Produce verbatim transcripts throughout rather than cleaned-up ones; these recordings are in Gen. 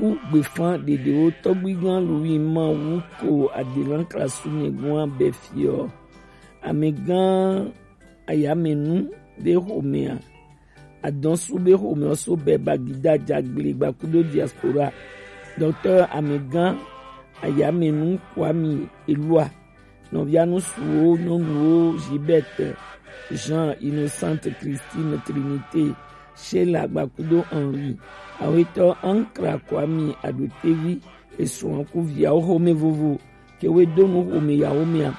Wu gbefan ɖeɖewo tɔgbuigã Louis Mawu ko adelan klasu nyɛgɔn abɛ fiɔ. Amɛgã ayamɛnu be xomɛa, adɔsu be xomɛɔ so bɛ bagida jagble gbakudo diaspora. Docteur Amɛgã ayamɛnu Kwami Elua, nɔvianu suwo nyɔnuwo Gilberte, Jean, Innocente, Christine, Trinité, Sheila gbakudo Henri, awetɔ Ankra Kwami Adotevi, esuan ku viawo xomɛ vovo, ke we do nu xomɛ yawo mɛa.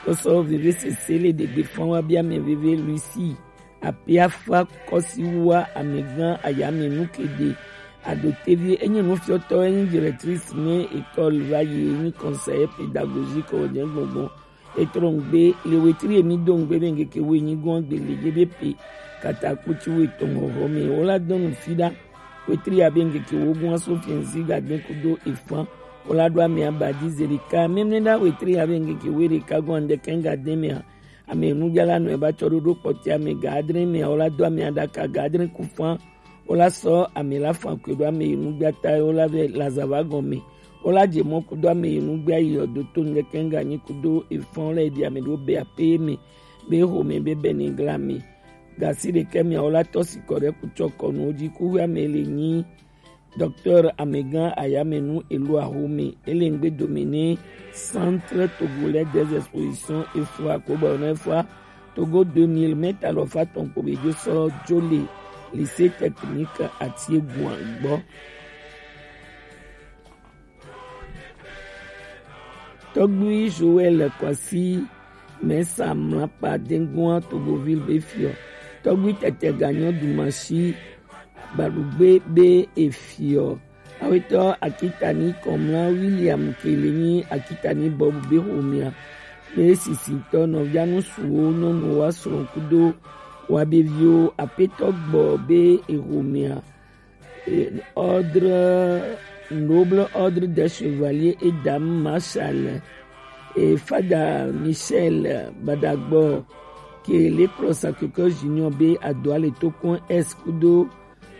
Kɔsɔ veve sese le ɖegbe fan wa bia mɛ veve Lucie, Apiafa Kɔsiwa Amɛgã ayamɛnu keɖe. Adotevi enyi nufiɔtɔ, enyi directrice ne école va yi, enyi conseiller pédagogique o jɛ gbɔngbɔn. Etrɔ ŋgbe le wetri emi do ŋgbe be ŋkeke wo enyi gɔn gbele je be pe kata kpoti wo etɔn hɔhɔ mɛ. Wo la dɔn nu fi ɖa. Wetri ya be ŋkeke wo gɔn aso fiɛnzi ga den kudo efan. Wo la ɖo amɛ abadi zerika. Mɛmɛ ɖa wetri ya be ŋkeke wo ɖeka gɔn ande kɛn ga den mɛa. Amɛ nu jala nɔ eba tsɔ ɖoɖo kpɔti amɛ ga adre mɛa. Wo la do amɛ aɖaka ga adre ku fan. Wo la sɔ amɛ la fan kwe ɖo amɛ yi nu gbata wo la vɛ lazava gɔn mɛ. Wo la je mɔ kudo amɛ yi nu gbe ayi ɔ do to ŋkeke ŋga nyi kudo efan wo la yi ɖi amɛ ɖo be ape mɛ. Be xomɛ be bɛnɛ gla mɛ. Gasi ɖekɛ mɛ wo la tɔ sikɔ ɖe kutsɔ kɔnu wo ji ku amɛ le nyi Docteur Amɛgã ayamɛnu Elua xomɛ. Ele ŋgbe dome ne Centre Togolais des Expositions efua ko bɔ ne efua Togo deux mille mètres alɔfa tɔn kpo be jo sɔ jo le lycée technique Atieguan gbɔ. Tɔgbui Joël Kwasi Mɛsa mlakpa Dengoa Togoville be fiɔ. Tɔgbui Tɛtɛ Ganyɔ Dumasi Gbaɖugbe be efiɔ. Awetɔ Akitani Kɔmla William ke le nyi Akitani Bob be xomɛa. Be sisitɔ nɔvianu suwo nyɔnuwo asrɔ kudo wa be viwo apetɔ gbɔ be exomɛa. Ordre, noble ordre des chevaliers et dames marshal, et Fada Michel Badagbo, ke le kplɔ Sacré-Cœur Junior be adoa le tokun es kudo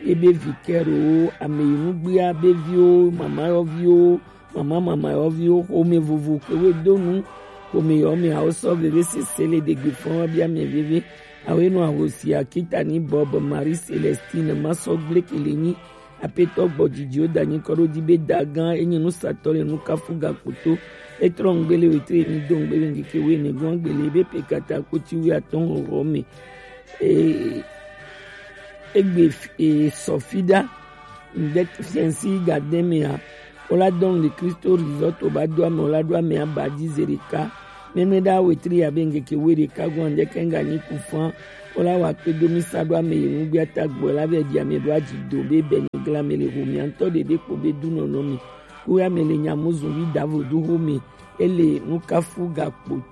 ebe vicaire wo, ame yi nugbea be viwo, mama yɔ viwo, mama mama yɔ viwo, xome vovo ke we do nu, xome yɔ me awo sɔ veve sese le ɖegbe fɔn wa bia me veve. Awe nɔ ahosi Akitani Bob Marie Celestine Masɔgble ke le nyi apetɔ gbɔ dzidziwo da nyi kɔ ɖo di be da gã enyi nusatɔ le nukafu gakpoto. Etrɔ ŋgbe le wetre mi do ŋgbe le ŋkeke we ne gɔn gbe le be pe kata kpoti wi atɔn hɔhɔ me. E, egbe e sɔfi ɖa. Ŋde fiɛnsi ga de mea, wo la dɔn le Kristo Resort ba do ame, wo la do ame aba di ze ɖeka. Mɛmɛ ɖa wetri ya be ŋkeke we ɖeka gɔn ŋde kɛn ga nyi ku fan. Wo la wa kpe do mi sa do ame yi nugbia ta gbɔ la be di ame do aji do be bɛ ni gla me le ho mi antɔ ɖeɖe kpo be du nɔnɔ mi. Wo ya me le nya mo zun vi davo du ho mi. Ele nukafu gakpo